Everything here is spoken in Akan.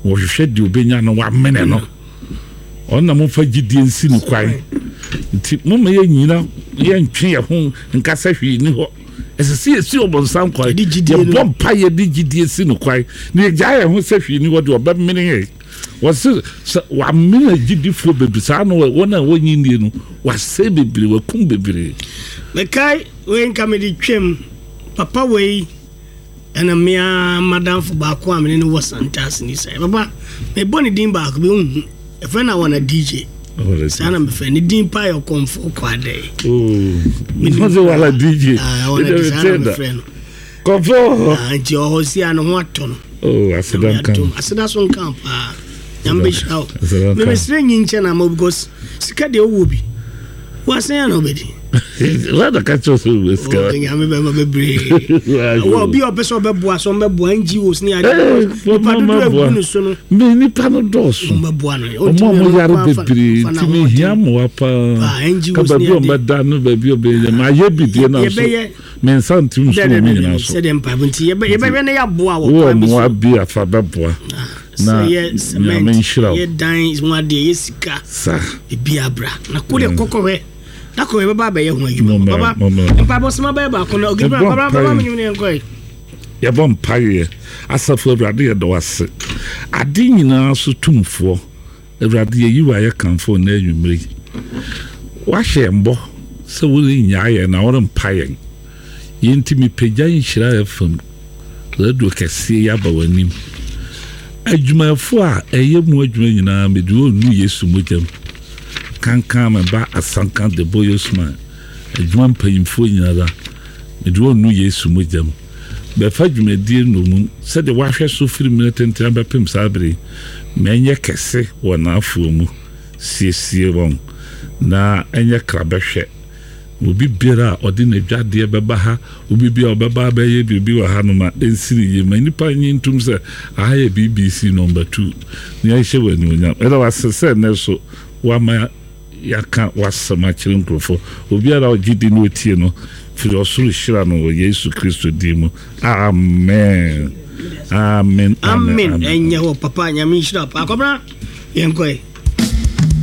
Wɔhwehwɛ deɛ ɔbɛnya no wamene no. Ɔno na momfa gyidie nsi no kwan. Nti momma yɛnnyina yɛntwe yɛn ho nka sɛ hwee nni hɔ. Ɛsɛ sɛ yɛsi ɔbonsam kwan. Yɛbɔ mpaeɛ de gyidie si no kwan na yɛgyae yɛn ho sɛ hwee nni hɔ deɛ ɔbɛmene yɛn. Wɔse sɛ wamene agyidifoɔ bebree saa na wɔn a wɔnnye nnie no wasɛe bebree, wakum bebree. Mekae wei nka mede twam papa wei ɛna me ara m'adamfo baako a me ne no wɔ Santase ni sɛ papa mebɔ ne din baako bi wohu ɛfrɛ no Awana DJ saa na mefrɛ ne din paa yɛ Ɔkɔmfo Kwadɛe. Oh, Wala DJ. Ah, Awana DJ saa na mefrɛ no. Kɔfɔ. Ah, nti ɔhɔ si a ne ho atɔ no. Oh, aseda nka. Aseda so nka paa. Nyame bɛhyira wo. Memesrɛ nyi nkyɛ na ama because sika deɛ wowɔ bi. Woasɛn a na wobɛdi. Wada ka kyerɛ sɛ wowɔ sika. Oh, nyame bɛma bebree. Wɔ obi a ɔpɛ sɛ ɔbɛboa so ɔmbɛboa NGOs ne ade. Eh, nipa dodoɔ agu ne so no. Me nipa no dɔɔso. Ɔmbɛboa no. Ɔmo a ɔmo yare bebree nti mehia mmoa paa. Ka baabi a ɔmbɛda no baabi a ɔbɛyɛ. Mayɛ bi deɛ na so. Me nsa nte nsu wɔ mu nyinaa so. Sɛdeɛ mpaebɔ nti yɛbɛhwɛ na yɛaboa wɔ Wowɔ kwan bi so. mmoa bi a fa bɛboa Sɛ na yɛ cement, Nyame nhyira wo. yɛ dan ho adeɛ, yɛ sika, Sa. ebi abra. Na ko deɛ kɔkɔhwɛ. Da koro yɛbɛba abɛyɛ ho adwuma. Mommra, Baba, mommra. mpaebɔ soma bɛyɛ baako na ogidi Yɛbɔ baba baba mpaeɛ. menyim ne yɛnkɔe. Yɛbɔ mpaeɛ. Asafo Awurade yɛda wo ase. Ade nyinaa so tumfoɔ. Awurade, yɛyi wo ayɛ kamfo wo nnɛ anwummere yi. Woahyɛ yɛn bɔ sɛ worennyaa yɛn na worempa yɛn. Yei nti mepagya Nhyira FM radio kɛseɛ yi aba w'anim. Adwumayɛfoɔ a ɛyɛ mu adwuma nyinaa mede wɔn nu Yesu mogya mu. Kankan me ba Asanka Deboye Usman, adwuma mpanyimfoɔ nyinara mede wɔn nu Yesu mogya mu. Bɛfa dwumadie nnommum sɛdeɛ wɔahwɛ so firi mmerɛ tenten abɛpem saa berɛ yi, ma ɛnyɛ kɛse wɔ n'afoɔ mu. Siesie wɔn na ɛnyɛ krabɛhwɛ. Na obi biara a ɔde n'adwadeɛ bɛba ha, obi biara a ɔbɛba abɛyɛ biribi wɔ ha no, ma ɛnsi no yie. Ma nnipa nnye ntom sɛ aha yɛ BBC Number 2, na yɛnhyɛ wo animuonyam. Yɛda wo ase sɛ nnɛ nso woama Yɛaka w'asɛm akyerɛ nkurɔfoɔ. Obiara a ɔgye di na ɔtie no, firi ɔsoro hyira no wɔ Yesu Kristo din mu. Amen. Amen. Amen. Ɛnyɛ hɔ papa nyame nhyira paa. Kɔbra yɛnkɔe.